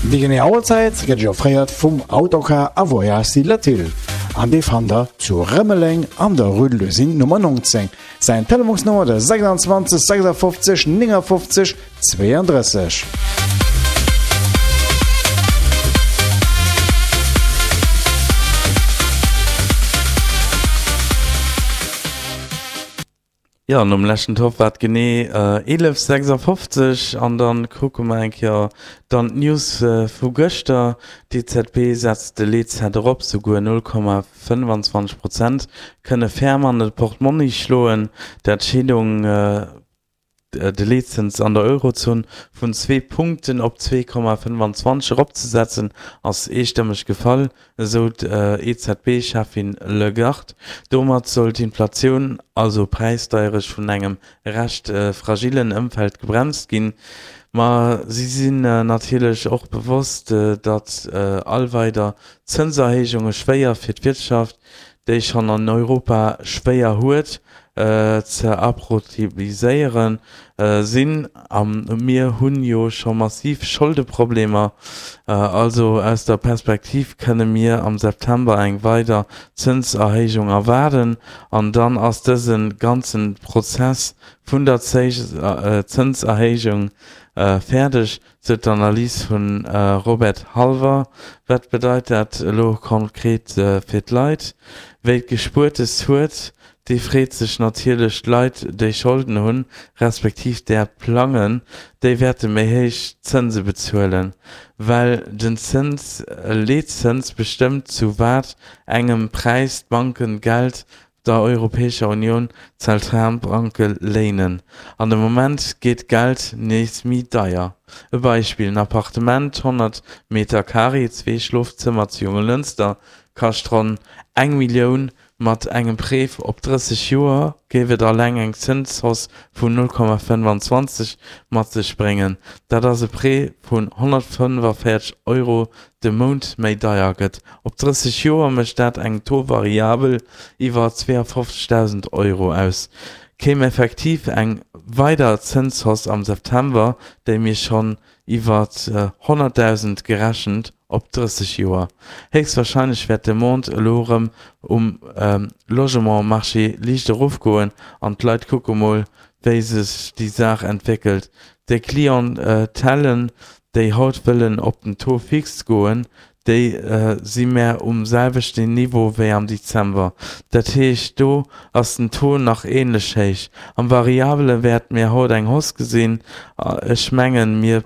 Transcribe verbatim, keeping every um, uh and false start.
Déi genee Auerzäit gëtt Iech offréiert vum Autocar a Voyage Latil an dee fannt der zu Rëmeleng an der Rue de l'Usine Nummer neunzéng. Säin Telefonsnummer der sechsundzwanzeg sechsundfünfzig neunundfünfzig zweiunddrësseg. Jo, nom leschten Tour war et genee eelef sechsundfünfzig an dann kucke mer eng Kéier dann d'News vu gëschter. D'E Z B setzt de Leetzäit erop, souguer null Komma fënnefanzwanzeg Prozent kënne ferm an de Portmonni schloen. D'Entscheedung, de Leetzëns an der Eurozon vun zwee Punkten op zwee Komma fënnefanzwanzeg eropzesetzen, ass eestëmmeg gefall, esou d'E Z B-Cheffin Lagarde. Domat soll d'Inflatioun, also Präisdeierecht, vun engem recht fragillen Ëmfeld gebremst ginn. Ma si sinn natierlech och bewosst, datt all weider Zënserhéijunge schwéier fir d'Wirtschaft, déi schonn an Europa schwéier huet, ze approtibiséieren sinn. A mir hunn jo scho massiv Scholdeproblemer. Also aus der Perspektiv kënne mir am September eng weider Zënserhéijung erwaarden an dann ass dëse ganze Prozess vun der Zënserhéijung fäerdeg, sou d'Analys vum Robert Halver. Wat bedeit dat elo konkret fir d'Leit? Wie Gespuertes huet, dee freet sech natierlech. D'Leit, déi Scholden hunn, respektiv där plangen, déi wäerte méi héich Zënse bezuelen, well den Zëns Leetzëns bestëmmt, zu wat engem Präis d'Banken Geld der Europäescher Unioun Zentralbanke léinen. An de Moment geet Geld nees méi deier. E Beispill, En Appartement, honnert Meter Carré, zwee Schlofzëmmer zu Jonglënster kascht ronn eng Millioun. Mat engem Prêt op drësseg Joer géif et alleng eng Zënshausse vun null Komma fënnefanzwanzeg mat sech bréngen. Dat ass e Prêt vun honnertfënnefanvéierzeg Euro de Mount méi deier gëtt. Op drësseg Joer mécht dat eng Taux variabel iwwer zweeafofzegdausend Euro aus. Kéim effektiv eng weider Zënshausse am September, déi mir schonn iwwer honnertdausend gerechent op drësseg Joer. Héchstwarscheinlech wäert d'Demande elo erëm um Logement-Marché liicht erofgoen an d'Leit kucke mol, wéi sech déi Saach entwéckelt. Déi Clientèlen, déi haut wëllen op den Taux fixe goen, déi si mär um selwechten Niveau wéi am Dezember. Dat heescht, do ass den Taux nach änlech héich. Am Variabele wäerte mir haut eng Hausse gesinn. Ech mengen, mir